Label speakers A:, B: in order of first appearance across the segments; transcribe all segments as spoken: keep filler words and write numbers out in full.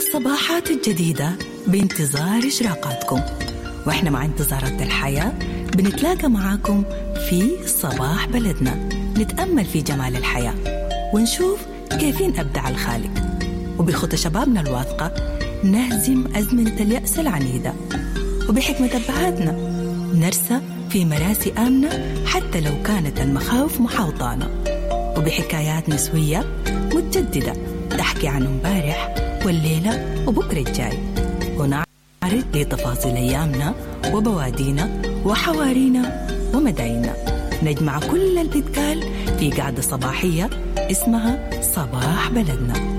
A: الصباحات الجديدة بانتظار إشراقاتكم، وإحنا مع انتظارات الحياة بنتلاقى معاكم في صباح بلدنا، نتأمل في جمال الحياة ونشوف كيفين أبدع الخالق، وبخطى شبابنا الواثقة نهزم أزمنة اليأس العنيدة، وبحكمة أبهاتنا نرسى في مراسي آمنة حتى لو كانت المخاوف محاوطانا، وبحكايات نسوية متجددة تحكي عن امبارح والليلة وبكرة الجاي، ونعرض لتفاصيل أيامنا وبوادينا وحوارينا ومدايننا. نجمع كل اللي بيتقال في قعدة صباحية اسمها صباح بلدنا.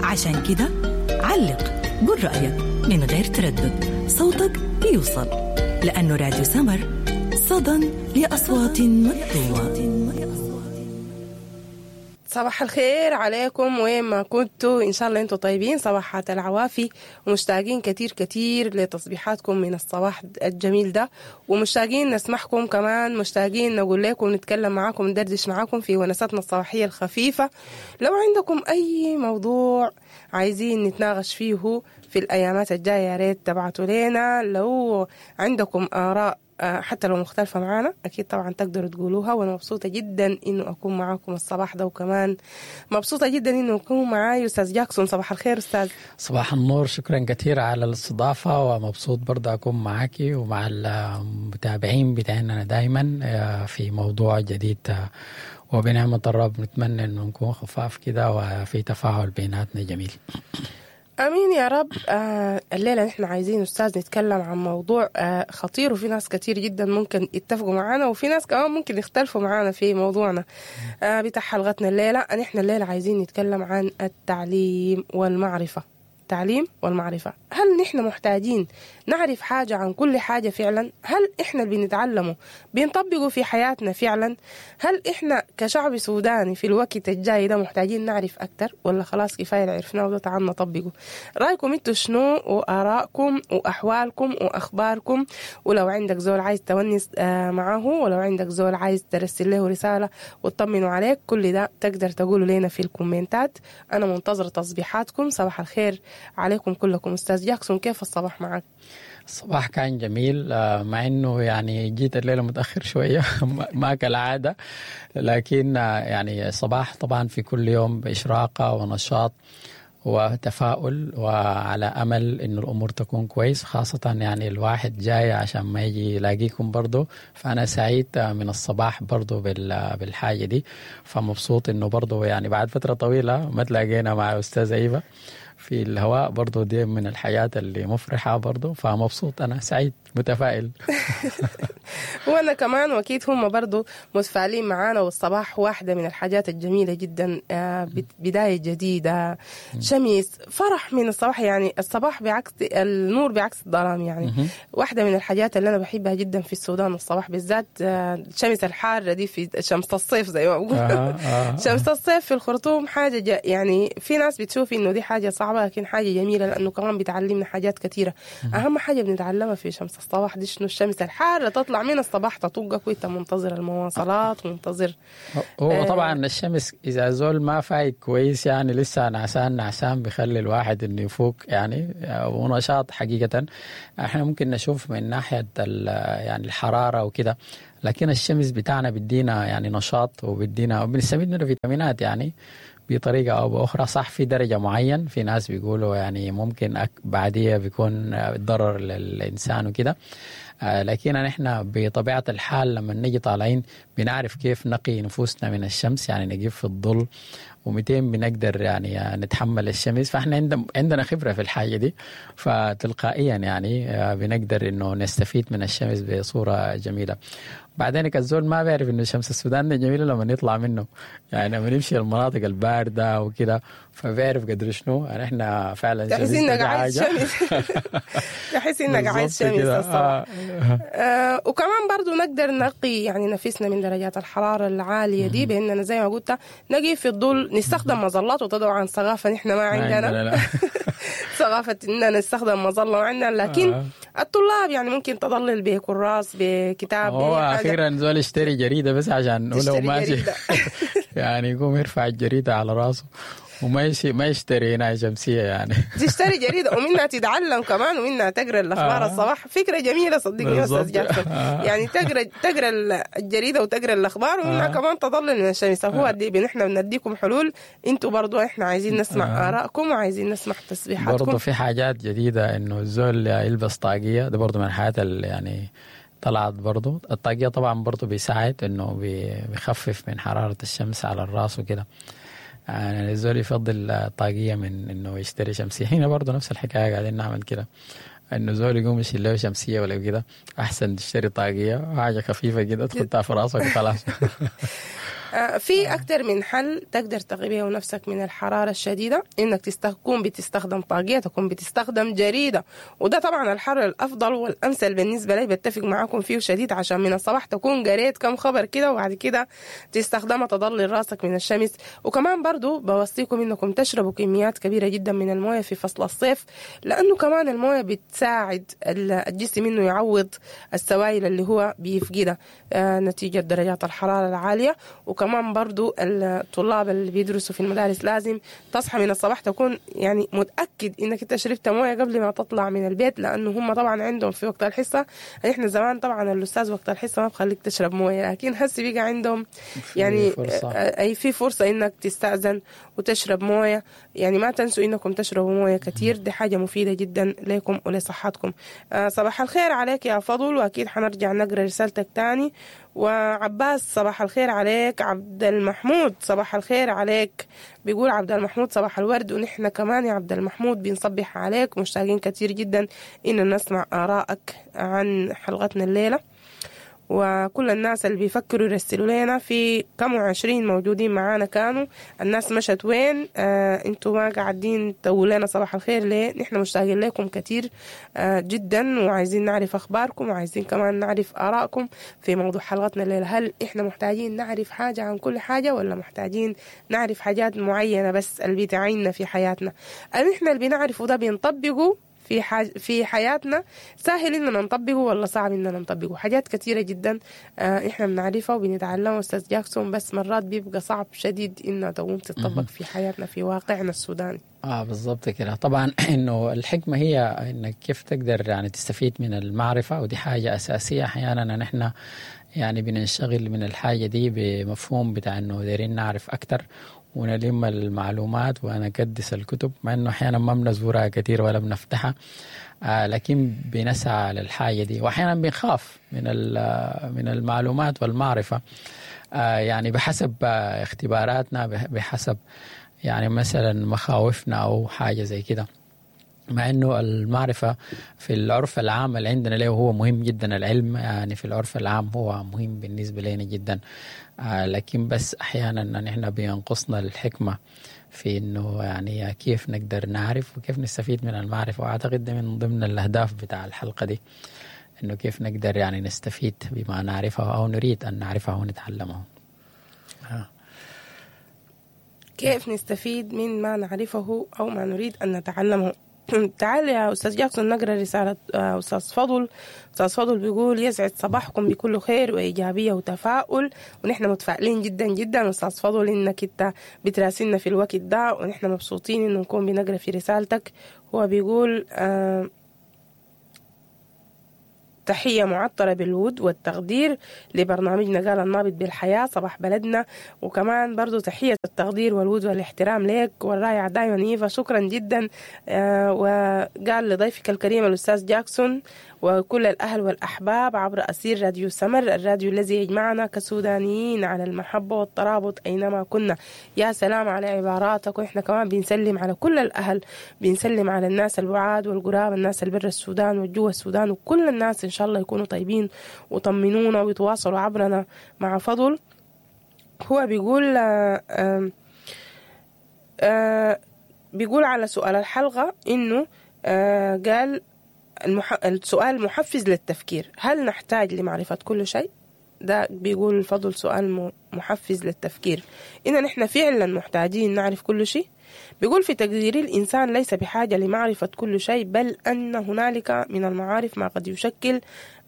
A: عشان كده علق، قل رأيك من غير تردد، صوتك بيوصل، لأنه راديو سمر صدى لأصوات مكتومة.
B: صباح الخير عليكم وين ما كنتوا، إن شاء الله أنتوا طيبين. صباحات العوافي، ومشتاقين كتير كتير لتصبيحاتكم من الصباح الجميل ده، ومشتاقين نسمعكم كمان، مشتاقين نقول لكم نتكلم معاكم ندردش معاكم في ونساتنا الصباحية الخفيفة. لو عندكم أي موضوع عايزين نتناقش فيه في الأيامات الجاية يا ريت تبعتوا لنا. لو عندكم آراء حتى لو مختلفة معانا أكيد طبعا تقدروا تقولوها. وأنا مبسوطة جدا إنه أكون معاكم الصباح ده، وكمان مبسوطة جدا إنه أكون معاي أستاذ جاكسون. صباح الخير أستاذ.
C: صباح النور، شكرا كثير على الاستضافة، ومبسوط برضه أكون معاكي ومع المتابعين بتاعنا دايما في موضوع جديد، وبنعمة الرب نتمنى إنه نكون خفاف كده وفي تفاعل بيناتنا جميل.
B: أمين يا رب. آه الليلة نحن عايزين أستاذ نتكلم عن موضوع آه خطير، وفي ناس كتير جدا ممكن يتفقوا معانا وفي ناس كمان ممكن يختلفوا معانا في موضوعنا آه بتاع حلقتنا الليلة. نحن الليلة عايزين نتكلم عن التعليم والمعرفة. التعليم والمعرفة، هل نحن محتاجين نعرف حاجة عن كل حاجة فعلا؟ هل إحنا اللي بنتعلمه بنطبقه في حياتنا فعلا؟ هل إحنا كشعب سوداني في الوقت الجاي ده محتاجين نعرف أكتر، ولا خلاص كفاية اللي عرفناه وده تعال نطبقه؟ رأيكم انتوا شنو، وآرائكم وأحوالكم وأخباركم؟ ولو عندك زول عايز تونس معاه، ولو عندك زول عايز ترسل له رسالة وتطمنوا عليك، كل ده تقدر تقوله لنا في الكومنتات. أنا منتظرة تصبيحاتكم. صباح الخير عليكم كلكم. أستاذ جاكسون، كيف الصباح معك؟
C: الصباح كان جميل، مع انه يعني جيت الليلة متاخر شوية ما كالعادة، لكن يعني الصباح طبعا في كل يوم باشراقه ونشاط وتفاؤل وعلى امل انه الامور تكون كويس، خاصة يعني الواحد جاي عشان ما يجي يلاقيكم برضو. فانا سعيد من الصباح برضو بالحاجة دي، فمبسوط انه برضو يعني بعد فترة طويلة ما تلاقينا مع استاذه ايفا في الهواء، برضو دي من الحياة اللي مفرحة برضو، فمبسوط أنا سعيد متفائل.
B: وأنا كمان، وأكيد هم برضو متفائلين معانا. والصباح واحدة من الحاجات الجميلة جدا، بداية جديدة، شمس، فرح من الصباح. يعني الصباح بعكس النور بعكس الظلام، يعني واحدة من الحاجات اللي أنا بحبها جدا في السودان الصباح بالذات، الشمس الحارة دي في شمس الصيف زي ما بقول. آه آه. شمس الصيف في الخرطوم حاجة، يعني في ناس بتشوف إنه دي حاجة صعبة، لكن حاجة جميلة لأنه كمان بتعلمنا حاجات كثيرة. أهم حاجة بنتعلمها في شمس الصباح دي شنو؟ الشمس الحارة تطلع من الصباح تطقك وانت منتظر المواصلات ومنتظر.
C: هو طبعا الشمس إذا زول ما فايق كويس يعني لسه نعسان نعسان بيخلي الواحد إنه يفوق يعني ونشاط. حقيقة احنا ممكن نشوف من ناحية يعني الحرارة وكده، لكن الشمس بتاعنا بدينا يعني نشاط وبدينا وبنستفيد منه فيتامينات يعني بطريقة أو بأخرى. صح في درجة معين في ناس بيقولوا يعني ممكن بعدية بيكون ضرر للإنسان وكده، لكن نحن بطبيعة الحال لما نجي طالعين بنعرف كيف نقي نفوسنا من الشمس، يعني نجيب في الظل ومئتين بنقدر يعني نتحمل الشمس، فاحنا عندنا خبرة في الحاجة دي، فتلقائيا يعني بنقدر إنه نستفيد من الشمس بصورة جميلة. بعدين الزول ما بيعرف إنه شمس السودان جميلة لما نطلع منه، يعني لما نمشي المناطق الباردة وكده فبيعرف قدر شنو يعني احنا فعلا.
B: تحس إنك عايز شمس. تحس إنك عايز شمس الصباح. آه وكمان برضو نقدر نقي يعني نفسنا من درجات الحرارة العالية دي بأننا زي ما قلت نقي في الظل، نستخدم مظلات. وطبعا ثقافة نحن ما عندنا ثقافة إننا نستخدم مظلة عندنا، لكن آه. الطلاب يعني ممكن تضلل بكراس بكتاب.
C: هو أخيرا زول اشتري جريدة بس عشان لو ماشي يعني يقوم يرفع الجريدة على راسه وما يشي ما يشتري هنا شمسية يعني.
B: تشتري جريدة ومنها تتعلم كمان ومنها تقرا الاخبار
C: آه.
B: الصباح. فكرة جميلة صدقني يا استاذ
C: بالضبط.
B: جاكسون.
C: آه.
B: يعني تقرا تقرا الجريدة وتقرا الاخبار ومنها
C: آه.
B: كمان تضلل من الشمس. هو دي نحن بنديكم حلول، انتوا برضو احنا عايزين نسمع
C: آه.
B: ارائكم وعايزين نسمع تسبيحاتكم.
C: برضه في حاجات جديدة إنه الزول يلبس طاقية، ده برضه من الحاجات اللي يعني طلعت برضه. الطاقية طبعا برضه بيساعد إنه بي- بيخفف من حرارة الشمس على الراس وكده. يعني الزول يفضل طاقية من إنه يشتري شمسية. هنا برضه نفس الحكاية قاعدين نعمل كده، إنه زول يقوم يشيل له شمسية ولا كده، أحسن تشتري طاقية حاجة خفيفة كده تحطها في راسك وخلاص.
B: آه، في أكتر من حل تقدر تقي بيه نفسك من الحرارة الشديدة، إنك تكون بتستخدم طاقية، تكون بتستخدم جريدة، وده طبعا الحل الأفضل والأمثل بالنسبة لي، بتفق معاكم فيه شديد، عشان من الصباح تكون قريت كم خبر كده وبعد كده تستخدمها تضلل راسك من الشمس. وكمان برضو بوصيكم إنكم تشربوا كميات كبيرة جدا من الموية في فصل الصيف، لأنه كمان الموية بتساعد الجسم إنه يعوض السوائل اللي هو بيفقدها آه، نتيجة درجات الحرارة العالية. وكمان برضو الطلاب اللي بيدرسوا في المدارس لازم تصحى من الصباح تكون يعني متأكد إنك أنت شربت موية قبل ما تطلع من البيت، لأنه هم طبعا عندهم في وقت الحصة، إحنا زمان طبعا الأستاذ وقت الحصة ما بخليك تشرب موية، لكن هسي بقى عندهم يعني
C: فرصة.
B: آه، أي في فرصة إنك تستأذن وتشرب موية. يعني ما تنسوا إنكم تشربوا موية كتير، دي حاجة مفيدة جدا لكم ولصحتكم. آه، صباح الخير عليك يا فضل، وأكيد حنرجع نقرأ رسالتك تاني. وعباس صباح الخير عليك. عبد المحمود صباح الخير عليك، بيقول عبد المحمود صباح الورد، ونحن كمان يا عبد المحمود بنصبح عليك، مشتاقين كتير جدا إن نسمع آرائك عن حلقتنا الليلة. وكل الناس اللي بيفكروا يرسلوا لنا، في كم وعشرين موجودين معانا كانوا، الناس مشت وين؟ آه انتوا ما قاعدين تقولوا لنا صباح الخير ليه؟ نحن مشتاقين لكم كتير آه جدا، وعايزين نعرف اخباركم، وعايزين كمان نعرف ارائكم في موضوع حلقتنا الليلة. هل احنا محتاجين نعرف حاجة عن كل حاجة، ولا محتاجين نعرف حاجات معينة بس اللي بتعيننا في حياتنا؟ هل احنا اللي بنعرفه ده بنطبقه في حاج في حياتنا؟ سهل اننا نطبقه ولا صعب اننا نطبقه؟ حاجات كثيرة جدا آه، احنا بنعرفها وبنتعلمها استاذ جاكسون، بس مرات بيبقى صعب شديد انها تقوم تطبق في حياتنا في واقعنا السوداني.
C: اه بالضبط كده. طبعا انه الحكمة هي انك كيف تقدر يعني تستفيد من المعرفة، ودي حاجة اساسية. احيانا نحن يعني بننشغل من الحاجة دي بمفهوم بتاع انه دايرين نعرف اكتر ونلم المعلومات ونكدس الكتب، مع انه احيانا ما بنزورها كثير ولا بنفتحها، آه لكن بنسعى للحاجة دي. واحيانا بنخاف من ال- من المعلومات والمعرفة، آه يعني بحسب آه اختباراتنا، بح- بحسب يعني مثلا مخاوفنا او حاجة زي كده. مع انه المعرفة في العرف العام اللي عندنا له هو مهم جدا، العلم يعني في العرف العام هو مهم بالنسبة لنا جدا، آه لكن بس احيانا نحن بينقصنا الحكمة في انه يعني كيف نقدر نعرف وكيف نستفيد من المعرفة. واعتقد ده من ضمن الاهداف بتاع الحلقة دي، انه كيف نقدر يعني نستفيد بما نعرفه او نريد ان نعرفه ونتعلمه. آه.
B: كيف نستفيد من ما نعرفه أو ما نريد أن نتعلمه؟ تعال يا أستاذ جاكسون نقرأ رسالة آه، أستاذ فضل. أستاذ فضل بيقول يسعد صباحكم بكل خير وإيجابية وتفاؤل، ونحن متفائلين جدا جدا أستاذ فضل إنك أنت بتراسلنا في الوقت ده، ونحن مبسوطين إنه نكون بنقرأ في رسالتك. هو بيقول آه تحية معطرة بالود والتقدير لبرنامجنا قال النابض بالحياة صباح بلدنا، وكمان برضو تحية التقدير والود والاحترام لك والرائعة دايما إيفا، شكرا جدا. آه وقال لضيفك الكريم الأستاذ جاكسون وكل الأهل والأحباب عبر أثير راديو سمر، الراديو الذي يجمعنا كسودانيين على المحبة والترابط أينما كنا. يا سلام على عباراتك، وإحنا كمان بنسلم على كل الأهل، بنسلم على الناس البعاد والقراب، الناس البر السودان والجوا السودان، وكل الناس إن شاء الله يكونوا طيبين وطمنونا ويتواصلوا عبرنا مع فضل. هو بيقول آه آه آه بيقول على سؤال الحلقة إنه آه قال المح... السؤال محفز للتفكير، هل نحتاج لمعرفة كل شيء؟ ده بيقول الفضل سؤال محفز للتفكير، إن نحن فعلا محتاجين نعرف كل شيء. بيقول في تقديري الإنسان ليس بحاجة لمعرفة كل شيء، بل أن هنالك من المعارف ما قد يشكل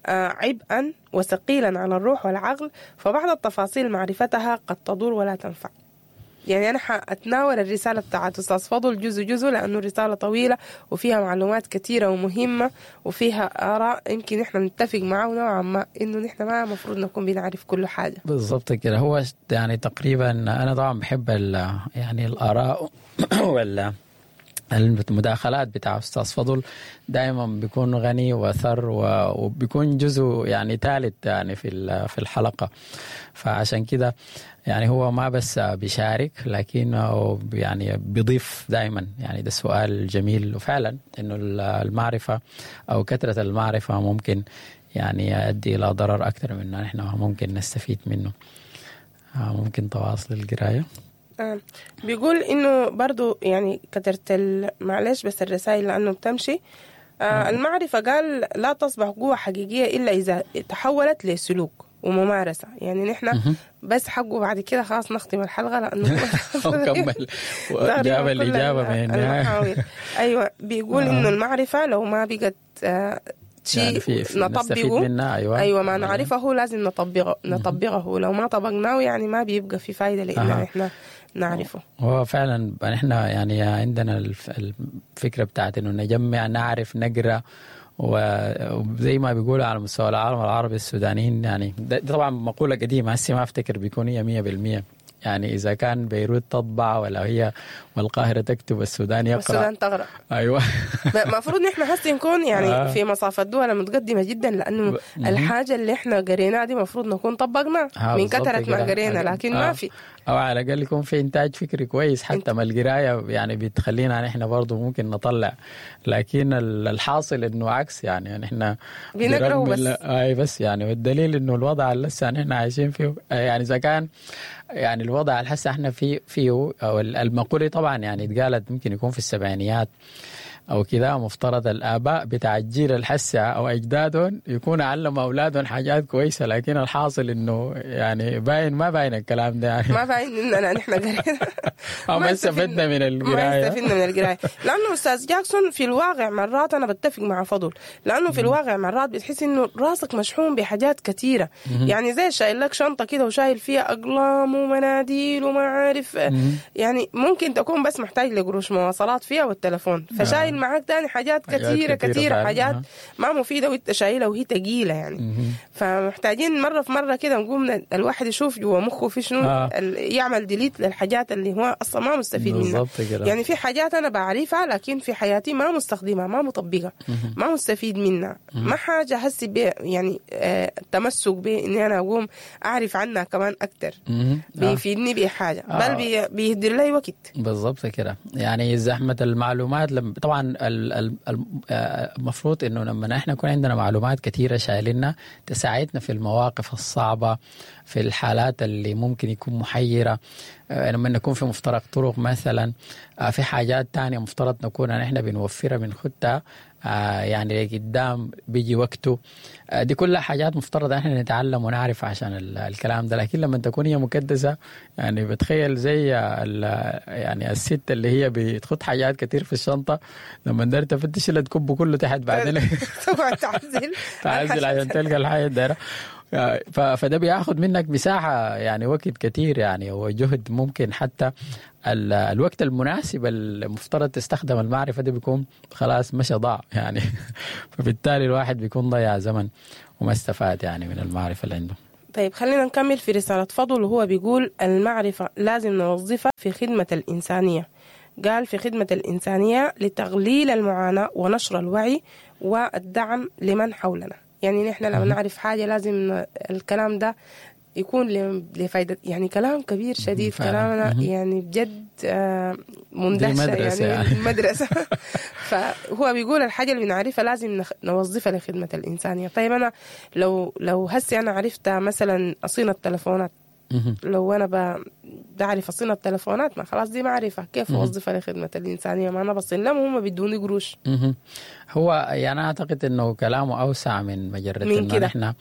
B: عبئا وثقيلا على الروح والعقل، فبعض التفاصيل معرفتها قد تضر ولا تنفع. يعني أنا حأتناول الرسالة بتاعت أستاذ فضل جزء جزء، لأنه الرسالة طويلة وفيها معلومات كثيرة ومهمة وفيها آراء يمكن إحنا نتفق معه نوعا ما إنه نحن ما مفروض نكون بنعرف كل حاجة.
C: بالضبط كده. هو يعني تقريبا أنا طبعا بحب يعني الآراء ولا المداخلات بتاع أستاذ فضل، دائما بيكون غني وثر وبيكون جزء يعني ثالث يعني في في الحلقة، فعشان كده يعني هو ما بس بيشارك لكنه يعني بيضيف دائما. يعني ده سؤال جميل، وفعلا إنه المعرفة أو كثرة المعرفة ممكن يعني يؤدي إلى ضرر أكثر من نحن ممكن نستفيد منه. ممكن تواصل القراية.
B: آه. بيقول إنه برضو يعني كترت معلش بس الرسائل لأنه بتمشي. آه المعرفة قال لا تصبح قوة حقيقية إلا إذا تحولت لسلوك وممارسة. يعني نحن بس حقه بعد كده خلاص نختم الحلقة لأنه
C: كمل جاب الإجابة من النهاية.
B: أيوة بيقول آه. إنه المعرفة لو ما بقت آه شيء يعني في في نطبقه
C: منها. أيوة.
B: أيوة ما نعرفه لازم نطبقه نطبقه لو ما طبقناه يعني ما بيبقى في فايدة لأن آه. إحنا نعرفه.
C: هو فعلا إحنا يعني عندنا الفكرة بتاعت إنه نجمع نعرف نقرأ، وزي ما بيقولوا على مستوى العالم العربي السودانيين يعني ده طبعا مقولة قديمة هسه ما أفتكر بيكون هي مية بالمية. يعني إذا كان بيروت تطبع ولا هي والقاهرة تكتب السودان يقرأ
B: والسودان تغرق.
C: أيوة
B: المفروض نحن هسه نكون يعني آه. في مصاف الدول المتقدمة جدا، لأنه ب... الحاجة اللي إحنا قريناها دي مفروض نكون طبقناها آه من كثرة ما قرينا، لكن آه. ما في،
C: أو على الأقل يكون في إنتاج فكري كويس حتى ما القراية يعني بتخلينا نحن برضو ممكن نطلع، لكن الحاصل إنه عكس يعني نحن
B: بنقرأ بس
C: أي بس يعني، والدليل إنه الوضع اللي لسه نحن عايشين فيه يعني إذا كان يعني الوضع اللي هسه احنا فيه فيه او المقولة طبعا يعني اتقالت ممكن يكون في السبعينيات او كذا، مفترض الاباء بتاع الجيل الحسة او اجدادهم يكون علموا اولادهم حاجات كويسة، لكن الحاصل انه يعني باين ما باين الكلام ده يعني
B: ما باين اننا نحن قرينا
C: ما استفدنا من القراية،
B: ما استفدنا من القراية لانه استاذ جاكسون في الواقع مرات انا بتفق مع فضل، لانه في الواقع مرات بتحس انه راسك مشحون بحاجات كثيرة، يعني زي شايل لك شنطه كده وشايل فيها اقلام ومناديل وما عارف، يعني ممكن تكون بس محتاج لقروش مواصلات فيها والتلفون، فشايل معاك تاني حاجات كثيرة كثيرة, كثيرة حاجات ما مفيدة وانت شايلة وهي تقيلة يعني. مم. فمحتاجين مرة في مرة كده نقوم الواحد يشوف جوا مخه في شنو آه. يعمل delete للحاجات اللي هو أصلا ما مستفيد منها. يعني في حاجات أنا بعرفها لكن في حياتي ما مستخدمها ما مطبقها ما مستفيد منها، ما حاجة هسي بي يعني آه التمسك بإني أنا أقوم أعرف عنها كمان أكتر آه. بيفيدني بحاجة آه. بل بي بيهدر لي وقت.
C: بالضبط كده. يعني زحمة المعلومات لما طبعا المفروض انه لما نحن يكون عندنا معلومات كثيرة شايلنا تساعدنا في المواقف الصعبة، في الحالات اللي ممكن يكون محيره، لما نكون في مفترق طرق مثلا، في حاجات تانية مفترض نكون نحن بنوفرها بنخدها يعني لقدام بيجي وقته، دي كلها حاجات مفترض احنا نتعلم ونعرف عشان الكلام ده. لكن لما تكون هي مكدسه يعني بتخيل زي يعني الست اللي هي بتخط حاجات كتير في الشنطة، لما ندير تفتش اللي تكب كله تحت بعدين
B: تقعد تعزل
C: تعزل عشان تلقى الحاجة الدايرة. فده بياخد منك مساحة يعني وقت كتير يعني وجهد، ممكن حتى الوقت المناسب المفترض تستخدم المعرفة دي بيكون خلاص مشى ضاع يعني فبالتالي الواحد بيكون ضيع زمن وما استفاد يعني من المعرفة اللي عنده.
B: طيب خلينا نكمل في رسالة فضل، وهو بيقول المعرفة لازم نوظفها في خدمة الإنسانية. قال في خدمة الإنسانية لتقليل المعاناة ونشر الوعي والدعم لمن حولنا. يعني نحن لما نعرف حاجة لازم الكلام ده يكون لفائدة، يعني كلام كبير شديد كلامنا يعني بجد مندهشة يعني, يعني مدرسة فهو بيقول الحاجة اللي بنعرفها لازم نوظفها لخدمة الإنسانية. طيب أنا لو لو هسي أنا عرفت مثلا أصين التلفونات، لو أنا بعرف أصين التلفونات ما خلاص دي معرفة، كيف أوظفها لخدمة الإنسانية؟ ما أنا بصين لهم هم بدوني قروش.
C: هو يعني أعتقد إنه كلامه أوسع من مجرد إنه نحن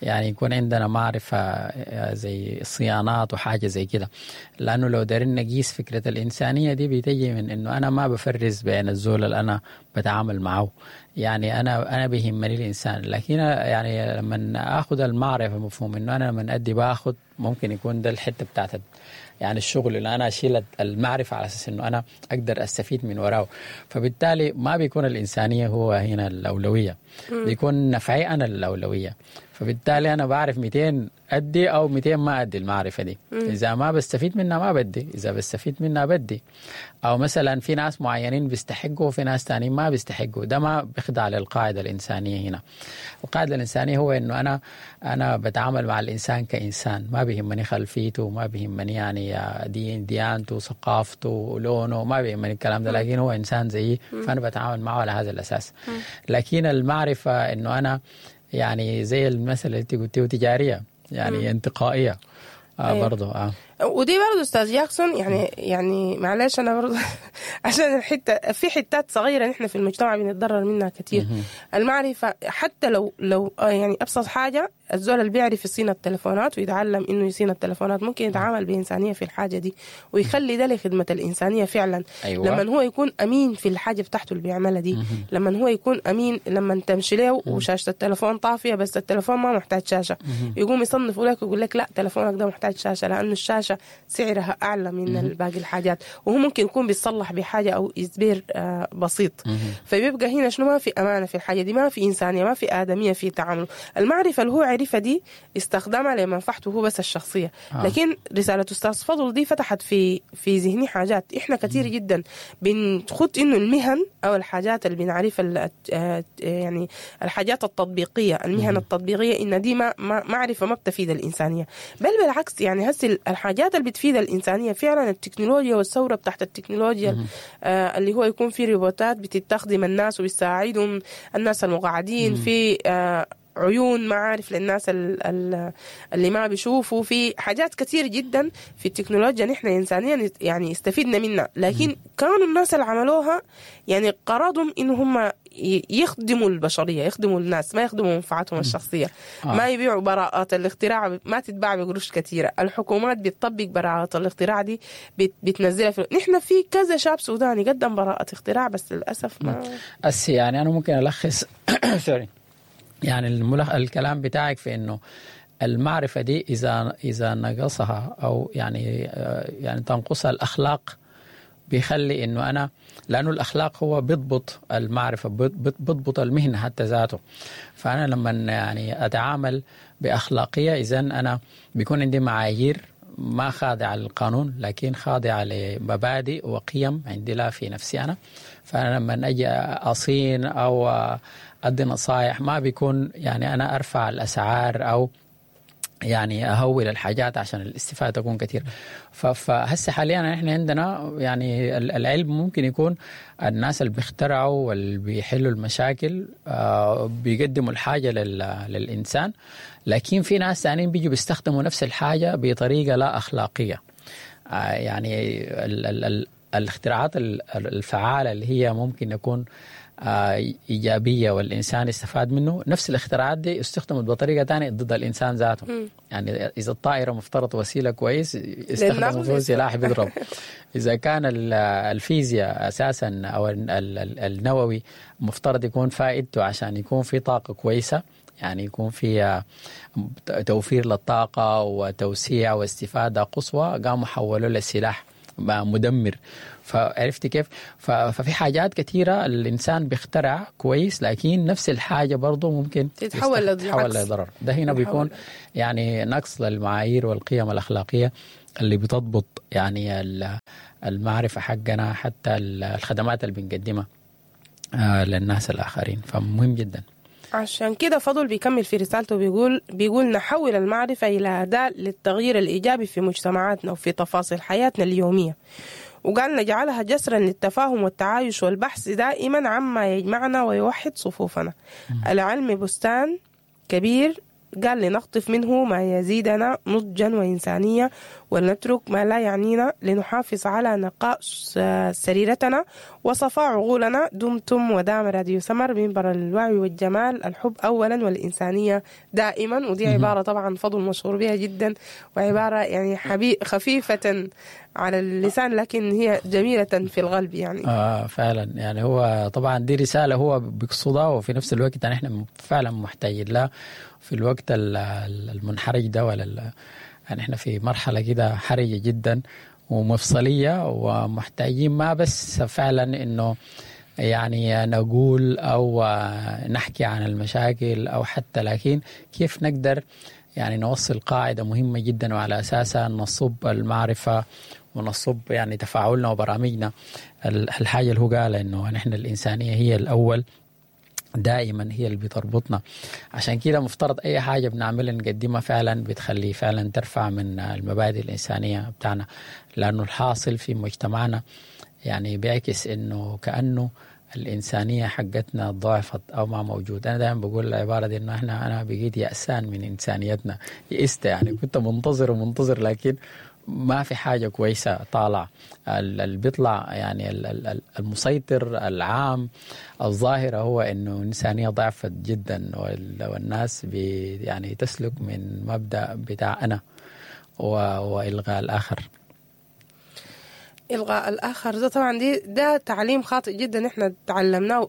C: يعني يكون عندنا معرفة زي صيانات وحاجة زي كده، لأنه لو دارين نقيس فكرة الإنسانية دي بتجي من إنه أنا ما بفرز بين الزول اللي أنا بتعامل معه، يعني أنا أنا بيهمني الإنسان. لكن يعني لما أخذ المعرفة مفهوم إنه أنا لما أدي باخذ، ممكن يكون ده الحتة بتاعت يعني الشغل اللي انا اشيل المعرفة على اساس انه انا اقدر استفيد من وراه. فبالتالي ما بيكون الانسانية هو هنا الاولوية، بيكون نفعي انا الاولوية. فبالتالي انا بعرف مئتين ادي او مئتين ما ادي المعرفة دي. اذا ما بستفيد منها ما بدي، اذا بستفيد منها بدي. او مثلا في ناس معينين بيستحقوا وفي ناس تانيين ما بيستحقوا، ده ما بيخضع للقاعدة الانسانية. هنا القاعدة الانسانية هو انه انا انا بتعامل مع الانسان كانسان، ما بيهمني خلفيته، ما بيهمني يعني دين ديانته، ثقافته، لونه، ما بيهمني الكلام ده، لكن هو انسان زيي فانا بتعامل معه على هذا الاساس. لكن المعرفة انه انا يعني زي المثل اللي انت قلتيه تجارية يعني مم. انتقائية آه أيوة. برضو آه.
B: ودي برضو استاذ جاكسون يعني يعني معلش انا برضو عشان الحتة في حتات صغيرة نحن في المجتمع بنتضرر منها كثير. المعرفة حتى لو لو يعني ابسط حاجة، الزول اللي بيعرف يصين التلفونات ويتعلم انه يصين التلفونات ممكن يتعامل بانسانيه في الحاجة دي ويخلي ده لخدمة الانسانية فعلا. أيوة. لما هو يكون امين في الحاجة بتاعته اللي بيعملها دي، لما هو يكون امين، لما تمشي له وشاشه التلفون طافية بس التلفون ما محتاج شاشة، يقوم يصنف لك ويقول لك لا تلفونك ده محتاج شاشة لانه الشاشة سعرها اعلى من باقي الحاجات، وهو ممكن يكون بيصلح بحاجة او إزبير بسيط. فبيبقى هنا شنو، ما في امانه في الحاجة دي، ما في انسانيه، ما في ادميه في تعامله. المعرفة اللي هو عرفها دي استخدمها لمنفعته هو بس الشخصية. آه. لكن رسالة استاذ فضل دي فتحت في في ذهني حاجات احنا كثير جدا بنخط انه المهن او الحاجات اللي بنعرفها يعني الحاجات التطبيقية، المهن مم. التطبيقية، ان دي ما معرفة ما بتفيد الانسانية، بل بالعكس. يعني هسه الحاجات اللي بتفيد الانسانية فعلا التكنولوجيا والثورة بتاعت التكنولوجيا، آه اللي هو يكون في روبوتات بتستخدم الناس وبتساعدهم، الناس المقعدين في آه عيون معارف للناس اللي ما بيشوفوا، في حاجات كثير جدا في التكنولوجيا نحن إنسانيا يعني استفدنا منها، لكن كانوا الناس اللي عملوها يعني قرضهم إنه هم يخدموا البشرية، يخدموا الناس، ما يخدموا منفعتهم الشخصية. آه. ما يبيعوا براءات الاختراع، ما تتباع بقروش كثيرة. الحكومات بتطبق براءات الاختراع دي بتنزلها في... نحن في كذا شاب سوداني قدم براءة اختراع بس للأسف ما
C: أس يعني أنا ممكن ألخص سوري يعني الملخ... الكلام بتاعك في انه المعرفة دي اذا اذا نقصها او يعني يعني تنقصها الاخلاق، بيخلي انه انا، لانه الاخلاق هو بيضبط المعرفة، بيضبط المهنة حتى ذاته. فانا لما يعني اتعامل باخلاقيه، اذا انا بيكون عندي معايير ما خاضعة للقانون لكن خاضعة لمبادئ وقيم عندي لا في نفسي أنا. فأنا لما أجي أصين أو أدي نصائح ما بيكون يعني أنا أرفع الأسعار أو يعني أهول الحاجات عشان الاستفادة تكون كثير. فهسه حاليا احنا عندنا يعني العلم ممكن يكون الناس اللي بيخترعوا واللي بيحلوا المشاكل بيقدموا الحاجة للإنسان، لكن في ناس ثانيين بيجوا بيستخدموا نفس الحاجة بطريقة لا أخلاقية. يعني ال ال ال الاختراعات الفعالة اللي هي ممكن يكون إيجابية والإنسان استفاد منه، نفس الاختراعات دي استخدمت بطريقة تانية ضد الإنسان ذاته. م. يعني إذا الطائرة مفترض وسيلة كويس استخدموا فيه سلاح بيضرب. إذا كان الفيزياء أساسا أو النووي مفترض يكون فائدته عشان يكون في طاقة كويسة، يعني يكون في توفير للطاقة وتوسيع واستفادة قصوى، قاموا حولوا للسلاح مدمر. فعرفت كيف؟ ففي حاجات كثيرة الإنسان بيخترع كويس، لكن نفس الحاجة برضو ممكن
B: تتحول
C: لضرر. ده هنا بيكون يعني نقص للمعايير والقيم الأخلاقية اللي بتضبط يعني المعرفة حقنا، حتى الخدمات اللي بنقدمها للناس الآخرين. فمهم جدا.
B: عشان كده فضل بيكمل في رسالته بيقول بيقول نحول المعرفة إلى أداة للتغيير الإيجابي في مجتمعاتنا وفي تفاصيل حياتنا اليومية، وقال نجعلها جسرا للتفاهم والتعايش والبحث دائما عما يجمعنا ويوحد صفوفنا. العلم بستان كبير، قال لنقطف منه ما يزيدنا نضجا وإنسانية، ولنترك ما لا يعنينا لنحافظ على نقاء سريرتنا وصفاء عقولنا. دمتم ودام راديو سمر، منبر الوعي والجمال، الحب أولا والإنسانية دائما. ودي عبارة طبعا فضل مشهور بها جدا، وعبارة يعني حبي خفيفة على اللسان لكن هي جميلة في القلب يعني.
C: آه فعلا، يعني هو طبعا دي رسالة هو بيقصدها، وفي نفس الوقت يعني احنا فعلا محتاجين لها في الوقت المنحرج ده، ولا يعني احنا في مرحلة كده حرجة جدا ومفصلية، ومحتاجين ما بس فعلا إنه يعني نقول أو نحكي عن المشاكل أو حتى، لكن كيف نقدر يعني نوصل قاعدة مهمة جدا وعلى أساسها نصب المعرفة ونصب يعني تفاعلنا وبرامجنا. الحاجة اللي هو قال إنه نحن الإنسانية هي الأول دائما، هي اللي بتربطنا. عشان كده مفترض أي حاجة بنعملها نقدمها فعلا بتخلي فعلا ترفع من المبادئ الإنسانية بتاعنا، لأنه الحاصل في مجتمعنا يعني بيعكس إنه كأنه الإنسانية حقتنا ضعفت أو ما موجود. أنا دائما بقول العبارة دي إنه إحنا أنا بقيت يأسان من إنسانيتنا، يئست يعني، كنت منتظر ومنتظر لكن ما في حاجة كويسة طالع. اللي بيطلع يعني المسيطر العام الظاهرة هو إنه الإنسانية ضعفت جدا، والناس بي يعني تسلك من مبدأ بتاع أنا وإلغاء الآخر.
B: إلغاء الآخر ده طبعا دي ده تعليم خاطئ جدا إحنا تعلمناه،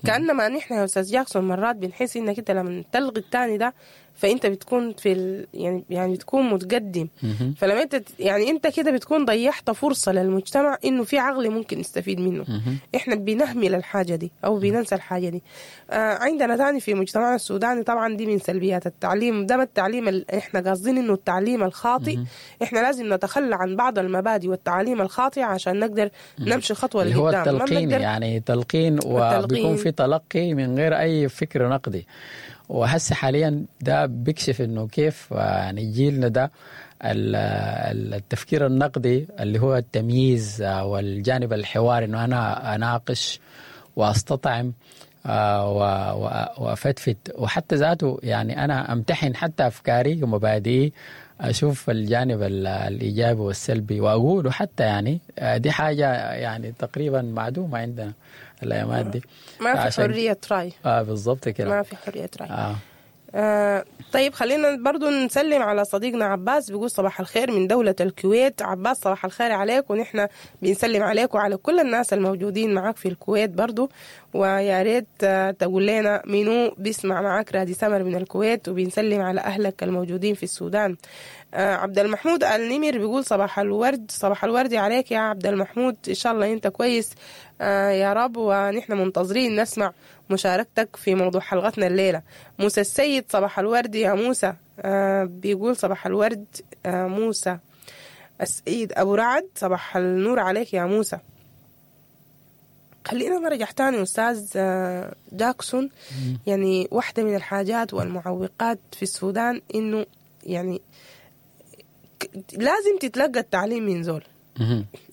B: كأنما نحن يا أستاذ جاكسون مرات بنحس إنك أنت لما تلغي الثاني ده فأنت بتكون في ال... يعني يعني بتكون متقدم. فلما أنت يعني أنت كده بتكون ضيعت فرصة للمجتمع إنه في عقل ممكن يستفيد منه. إحنا بنهمل الحاجة دي أو بننسى الحاجة دي. آه عندنا تاني في مجتمعنا السوداني طبعا دي من سلبيات التعليم ده، ما التعليم ال... إحنا قاصدين إنه التعليم الخاطئ. إحنا لازم نتخلى عن بعض المبادئ والتعاليم الخاطئة عشان نقدر نمشي خطوة لقدام.
C: هو التلقين، يعني تلقين، وبيكون في تلقي من غير أي فكر نقدي. وهسه حاليا ده بيكشف انه كيف يعني جيلنا ده التفكير النقدي اللي هو التمييز والجانب الحواري، انه انا اناقش واستطعم وافتفت، وحتى ذاته يعني انا امتحن حتى افكاري ومبادئي، اشوف الجانب الايجابي والسلبي واقوله حتى. يعني دي حاجة يعني تقريبا معدومة عندنا الايامات دي،
B: ما في حرية راي.
C: اه بالضبط كده،
B: ما في حرية راي. آه. آه طيب خلينا برضو نسلم على صديقنا عباس، بيقول صباح الخير من دولة الكويت. عباس صباح الخير عليك، ونحن بنسلم عليك وعلى كل الناس الموجودين معاك في الكويت برضو، ويا ريت تقول لنا منو بيسمع معاك رادي سمر من الكويت، وبنسلم على أهلك الموجودين في السودان. آه عبد المحمود النمر بيقول صباح الورد. صباح الورد عليك يا عبد المحمود، إن شاء الله أنت كويس آه يا رب، ونحن منتظرين نسمع مشاركتك في موضوع حلقتنا الليلة. موسى السيد صباح الورد يا موسى، آه بيقول صباح الورد آه موسى السيد أبو رعد، صباح النور عليك يا موسى. خلينا نرجع تاني أستاذ جاكسون. يعني واحدة من الحاجات والمعوقات في السودان إنه يعني لازم تتلقى التعليم من زول.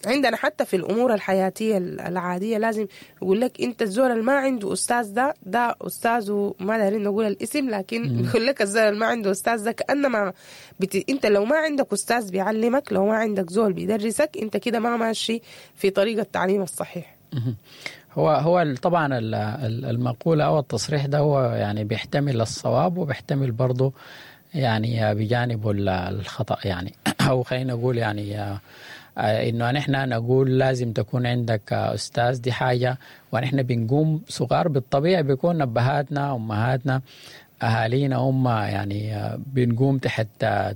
B: عندنا حتى في الأمور الحياتية العادية لازم يقول لك أنت الزول اللي ما عنده أستاذ ده ده أستاذه، ما دارين نقول الاسم، لكن يقول لك الزول اللي ما عنده أستاذ ده كأنما بت... أنت لو ما عندك أستاذ بيعلمك، لو ما عندك زول بيدرسك، أنت كده ما ماشي في طريقة التعليم الصحيح.
C: هو هو طبعا المقولة أو التصريح ده هو يعني بيحتمل الصواب وبيحتمل برضه يعني بجانبه الخطأ، يعني أو خلينا نقول يعني إنه نحن نقول لازم تكون عندك أستاذ، دي حاجة. ونحن بنقوم صغار بالطبيعة بيكون أبهاتنا أمهاتنا أهالينا هم يعني بنقوم تحت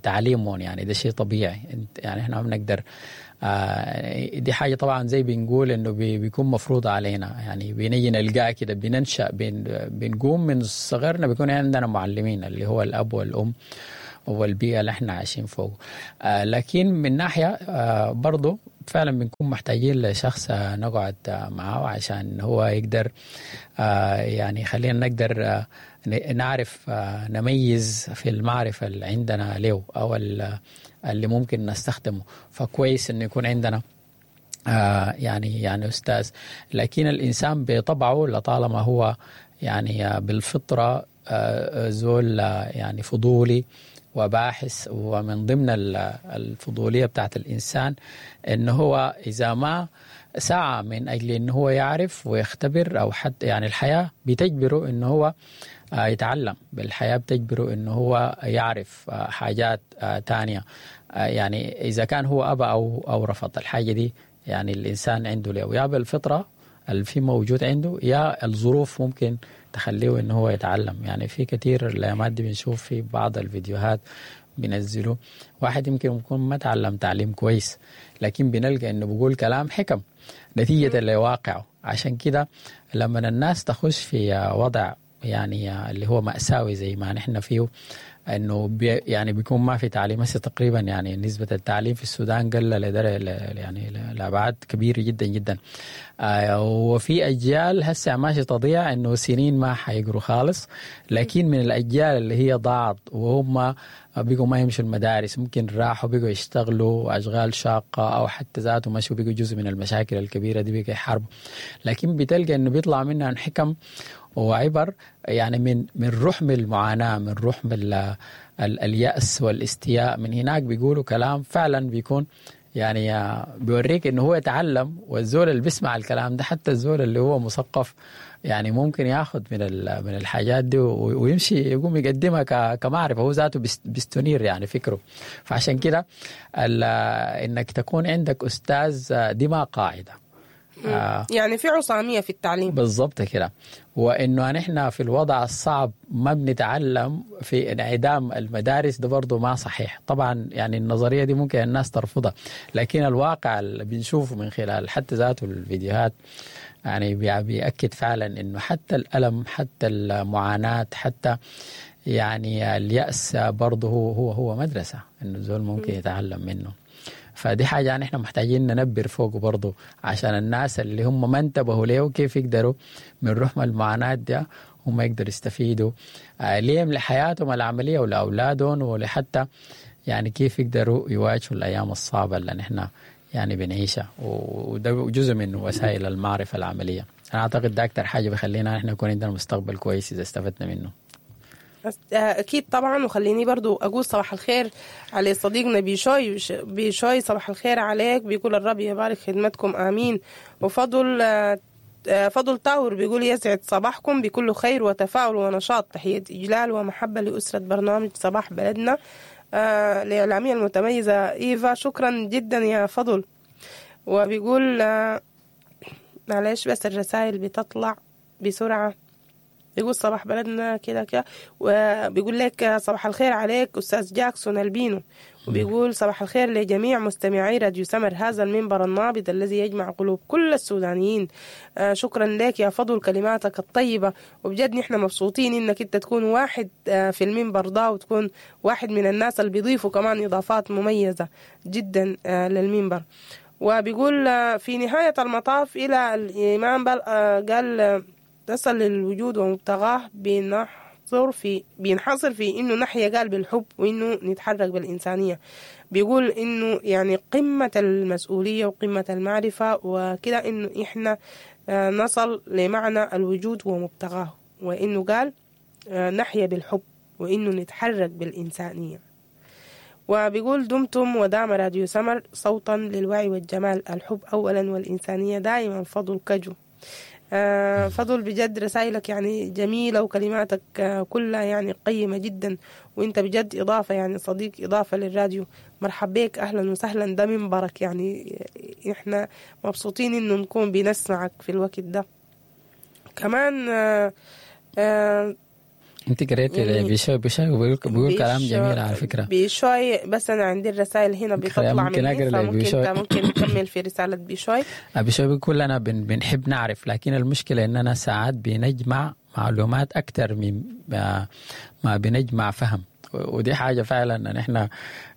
C: تعليمهم، يعني ده شيء طبيعي، يعني إحنا ما بنقدر. دي حاجة طبعا زي بنقول إنه بيكون مفروض علينا، يعني بنيجي نلقاه كده، بننشأ بن بنقوم من صغرنا بيكون عندنا معلمين اللي هو الأب والأم والبيئة اللي احنا عايشين فوق. آه لكن من ناحية آه برضو فعلا بنكون محتاجين لشخص آه نقعد آه معه عشان هو يقدر آه يعني خلينا نقدر آه نعرف آه نميز في المعرفة اللي عندنا له أو اللي ممكن نستخدمه. فكويس إنه يكون عندنا آه يعني يعني أستاذ. لكن الإنسان بطبعه لطالما هو يعني بالفطرة آه زول يعني فضولي وباحث، ومن ضمن الفضولية بتاعت الإنسان إنه هو إذا ما سعى من أجل إنه هو يعرف ويختبر أو حتى يعني الحياة بتجبره إنه هو يتعلم، بالحياة بتجبره إنه هو يعرف حاجات تانية. يعني إذا كان هو أبى أو أو رفض الحاجة دي، يعني الإنسان عنده له يا بالفطرة اللي في موجود عنده، يا الظروف ممكن تخليه إنه هو يتعلم. يعني في كثير الأيامات دي بنشوف في بعض الفيديوهات بينزلوا واحد يمكن يكون ما تعلم تعليم كويس، لكن بنلقى انه بيقول كلام حكم نتيجة لواقعه. عشان كده لما الناس تخش في وضع يعني اللي هو مأساوي زي ما نحن فيه، انه بي يعني بيكون ما في تعليم هسه تقريبا، يعني نسبة التعليم في السودان قل لدرجة يعني لأبعاد كبيرة جدا جدا. آه وفي أجيال هسه ماشي تضيع، انه سنين ما حيقروا خالص، لكن من الأجيال اللي هي ضاعت وهم بقوا ما يمشوا المدارس، ممكن راحوا بقوا يشتغلوا أشغال شاقة، أو حتى ذاته مشوا بقوا جزء من المشاكل الكبيرة دي، بقوا يحاربوا. لكن بتلقى انه بيطلع منها حكم وعبر، يعني من من رحم المعاناة، من رحم ال ال اليأس والاستياء، من هناك بيقولوا كلام فعلا بيكون يعني بيوريك انه هو يتعلم. والزول اللي بيسمع الكلام ده، حتى الزول اللي هو مثقف، يعني ممكن ياخذ من من الحاجات دي ويمشي يقوم يقدمها كمعرفة، هو ذاته بيستنير يعني فكرة. فعشان كده انك تكون عندك استاذ دي ما قاعدة.
B: آه يعني في عصامية في التعليم
C: بالضبط كده، وإنه نحن في الوضع الصعب ما بنتعلم في انعدام المدارس ده برضو ما صحيح طبعا. يعني النظرية دي ممكن الناس ترفضها، لكن الواقع اللي بنشوفه من خلال حتى ذاته الفيديوهات يعني بيأكد فعلا إنه حتى الألم، حتى المعاناة، حتى يعني اليأس برضه هو هو هو مدرسة، إنه الزول ممكن يتعلم منه. فدي حاجة يعني احنا محتاجين ننبر فوقه برضو، عشان الناس اللي هم ما انتبهوا ليه وكيف يقدروا من رحم المعاناة دي هم يقدروا يستفيدوا ليهم لحياتهم العملية ولأولادهم، ولحتى يعني كيف يقدروا يواجهوا الأيام الصعبة اللي نحن يعني بنعيشها. وده جزء من وسائل المعرفة العملية. أنا أعتقد ده أكتر حاجة بخلينا نحن يكون عندنا مستقبل كويس إذا استفدنا منه.
B: أكيد طبعا. وخليني برضو أقول صباح الخير على صديقنا بيشوي. بيشوي صباح الخير عليك، بيقول الرب يبارك خدمتكم آمين. وفضل فضل تاور بيقول يسعد صباحكم بكل خير وتفاؤل ونشاط، تحية إجلال ومحبة لأسرة برنامج صباح بلدنا الإعلامية المتميزة إيفا. شكرا جدا يا فضل. وبيقول معلش بس الرسائل بتطلع بسرعة. بيقول صباح بلدنا كده كده، وبيقول لك صباح الخير عليك أستاذ جاكسون البينو، وبيقول صباح الخير لجميع مستمعي راديو سمر، هذا المنبر النابض الذي يجمع قلوب كل السودانيين. آه شكرا لك يا فضل، كلماتك الطيبة، وبجد نحن مبسوطين إنك أنت تكون واحد آه في المنبر ده، وتكون واحد من الناس اللي بيضيفوا كمان إضافات مميزة جدا آه للمنبر. وبيقول آه في نهاية المطاف إلى الإمام بل آه قال آه تصل للوجود ومبتغاه بنحصر في بينحصر في إنه نحيا قال بالحب، وإنه نتحرك بالإنسانية. بيقول إنه يعني قمة المسؤولية وقمة المعرفة وكده إنه إحنا نصل لمعنى الوجود ومبتغاه، وإنه قال نحيا بالحب وإنه نتحرك بالإنسانية. وبيقول دمتم ودام راديو سمر صوتا للوعي والجمال، الحب أولا والإنسانية دائما. فضل كجو. آه فضل بجد رسائلك يعني جميلة، وكلماتك آه كلها يعني قيمة جدا، وانت بجد إضافة، يعني صديق إضافة للراديو. مرحب بك، أهلا وسهلا، ده منبرك، يعني احنا مبسوطين انه نكون بنسمعك في الوقت ده كمان. آه آه
C: انت قريتي يعني بيشوي بيشوي بيقول, بيقول كلام جميل على فكرة
B: بيشوي، بس انا عندي الرسائل هنا بتطلع مني، فممكن انت ممكن تكمل في رسالة بيشوي.
C: بيشوي بيقول انا بن بنحب نعرف، لكن المشكلة اننا ساعات بنجمع معلومات اكثر من ما, ما بنجمع فهم، ودي حاجة فعلا ان احنا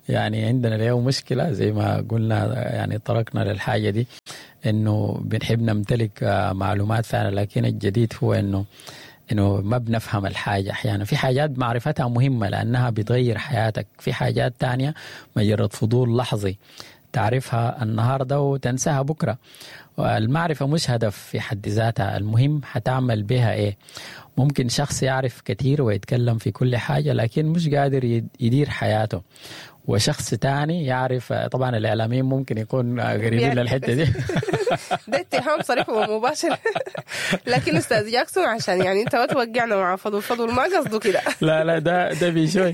C: يعني عندنا اليوم مشكلة زي ما قلنا، يعني تركنا للحاجة دي انه بنحب نمتلك معلومات فعلا، لكن الجديد هو انه انه ما بنفهم الحاجة. احيانا في حاجات معرفتها مهمة لانها بتغير حياتك، في حاجات تانية مجرد فضول لحظي تعرفها النهارده وتنساها بكره. والمعرفة مش هدف في حد ذاتها، المهم حتعمل بها ايه. ممكن شخص يعرف كثير ويتكلم في كل حاجة لكن مش قادر يدير حياته، وشخص تاني يعرف. طبعا الإعلاميين ممكن يكون قريبين للحتة دي.
B: ده اتهام صريح ومباشر. لكن أستاذ جاكسون عشان يعني أنت ما توقعنا مع فضل، فضل ما قصده كده.
C: لا لا ده ده بيشوي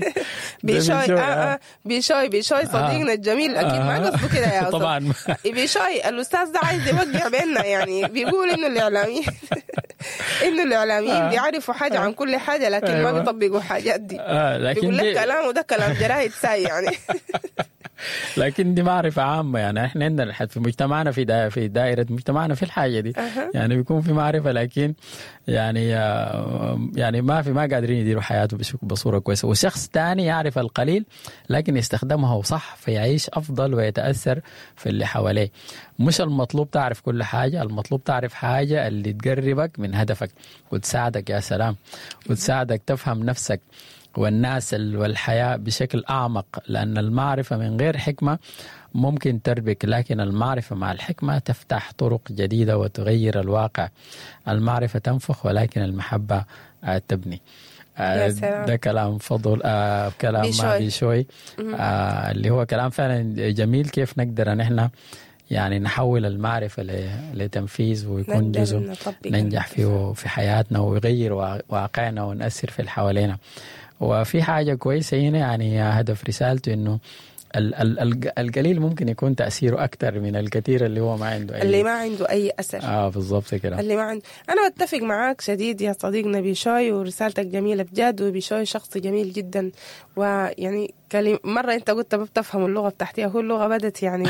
B: بيشوي آه آه بيشوي بيشوي صديقنا الجميل أكيد ما قصده كده يا أستاذ. طبعا بيشوي الأستاذ ده عايز يوقع بيننا، يعني بيقول إنه الإعلاميين انه الاعلاميين بيعرفوا حاجة عن كل حاجة لكن
C: أيوة.
B: ما بيطبقوا حاجات دي.
C: آه لكن
B: بيقول لك
C: دي
B: كلام وده كلام جرايد ساي يعني.
C: لكن دي معرفة عامة، يعني احنا عندنا في مجتمعنا في دا في دائرة مجتمعنا في الحاجة دي.
B: أها.
C: يعني بيكون في معرفة لكن يعني يعني ما في ما قادرين يديروا حياته بصورة كويسة. وشخص تاني يعرف القليل لكن يستخدمه صح فيعيش أفضل ويتأثر في اللي حواليه. مش المطلوب تعرف كل حاجة، المطلوب تعرف حاجة اللي تقربك من هدفك وتساعدك، يا سلام، وتساعدك تفهم نفسك والناس والحياة بشكل أعمق. لأن المعرفة من غير حكمة ممكن تربك، لكن المعرفة مع الحكمة تفتح طرق جديدة وتغير الواقع. المعرفة تنفخ ولكن المحبة تبني.
B: يا سلام.
C: ده كلام فضل، آه كلام
B: بيشوي,
C: بيشوي. آه اللي هو كلام فعلا جميل، كيف نقدر نحن يعني نحول المعرفة لتنفيذ ويكون جزء ننجح فيه في حياتنا ويغير واقعنا ونأثر في اللي حوالينا. وفي حاجة كويسة هنا، يعني هدف رسالته إنه ال ال القليل ممكن يكون تأثيره أكثر من الكثير اللي هو ما عنده أي
B: اللي ما عنده أي أثر.
C: آه بالضبط كده،
B: اللي ما عنده. أنا بتفق معاك شديد يا صديقنا بيشوي، ورسالتك جميلة بجد، وبيشوي شخص جميل جدا. ويعني كلم مرة أنت قلت ما بتفهم اللغة بتاعتي، هو اللغة بدت يعني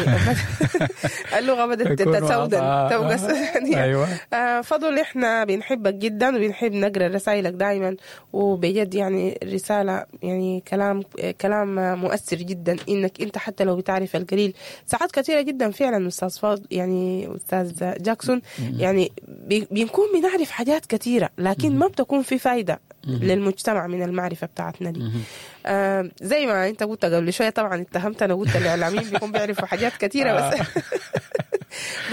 B: اللغة بدت تتسودن تبقى سودانية.
C: أيوة.
B: آه فضل إحنا بنحبك جدا وبنحب نقرأ رسائلك دائما، وبجد يعني رسالة يعني كلام كلام مؤثر جدا، إنك أنت حتى لو بتعرف القليل ساعات كثيرة جدا فعلا أستاذ فاضل يعني أستاذ جاكسون يعني بنكون بنعرف حاجات كثيرة لكن ما بتكون في فايدة للمجتمع من المعرفة بتاعتنا دي. آه زي ما انت قلت قبل شوية، طبعا اتهمت انا قلت الاعلاميين بيكون بيعرفوا حاجات كثيرة بس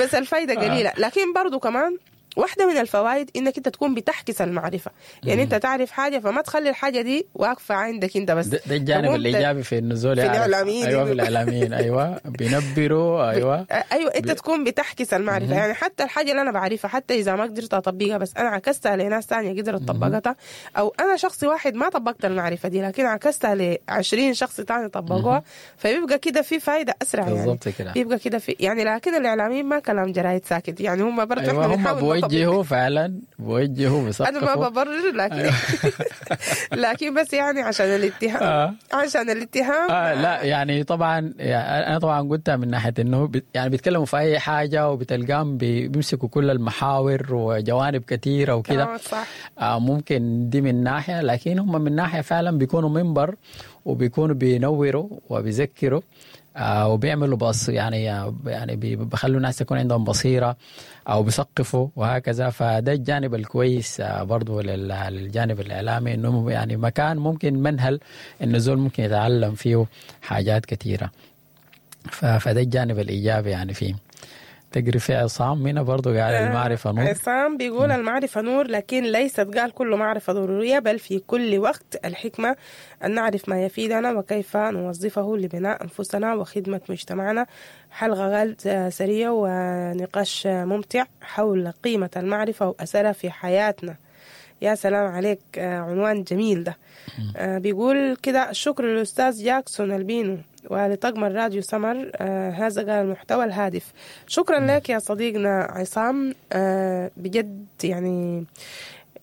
B: بس الفايدة قليلة. لكن برضو كمان واحدة من الفوائد انك انت تكون بتحكس المعرفة، يعني انت تعرف حاجة فما تخلي الحاجة دي واقفة عندك انت بس.
C: ده, ده الجانب الايجابي في النزول
B: في الاعلاميين.
C: ايوه في الاعلاميين، ايوه بينبروا، ايوه
B: ايوه انت بي... تكون بتحكس المعرفة. يعني حتى الحاجة اللي انا بعرفها حتى اذا ما قدرت اطبقها بس انا عكستها لناس ثانية قدرت طبقتها، او انا شخص واحد ما طبقت المعرفة دي لكن عكستها ل عشرين شخص ثاني طبقوها، فبيبقى كده في فايدة اسرع يعني.
C: بالضبط كده
B: بيبقى كده في يعني. لكن الاعلاميين ما كلام جرايد ساكت يعني، هم برضه
C: أيوة هم بوجهوا فعلا، بوجهوا بيثقفوا.
B: انا ما ببرر لكن لكن بس يعني عشان الاتهام آه. عشان الاتهام
C: آه لا يعني طبعا يعني انا طبعا قلتها من ناحية انه بي يعني بيتكلموا في اي حاجة وبتلقاهم بيمسكوا كل المحاور وجوانب كثيرة وكده.
B: صح.
C: آه ممكن دي من ناحية، لكن هم من ناحية فعلا بيكونوا منبر وبيكونوا بينوروا وبيذكروا آه وبيعملوا بص يعني يعني بيخلوا الناس يكون عندهم بصيرة أو بيثقفوا وهكذا. فده الجانب الكويس آه برضو للجانب الإعلامي، إنه يعني مكان ممكن منهل إنه الزول ممكن يتعلم فيه حاجات كثيرة. فده الجانب الإيجابي يعني فيه. تقري في عصام هنا برضو قال المعرفة نور.
B: عصام بيقول المعرفة نور لكن ليست قال كل معرفة ضرورية، بل في كل وقت الحكمة أن نعرف ما يفيدنا وكيف نوظفه لبناء أنفسنا وخدمة مجتمعنا. حلقة قال سرية ونقاش ممتع حول قيمة المعرفة وأثرها في حياتنا. يا سلام عليك، عنوان جميل ده. بيقول كده الشكر للأستاذ جاكسون البينو ولطقم الراديو سمر، آه هذا قال المحتوى الهادف. شكرا لك يا صديقنا عصام، آه بجد يعني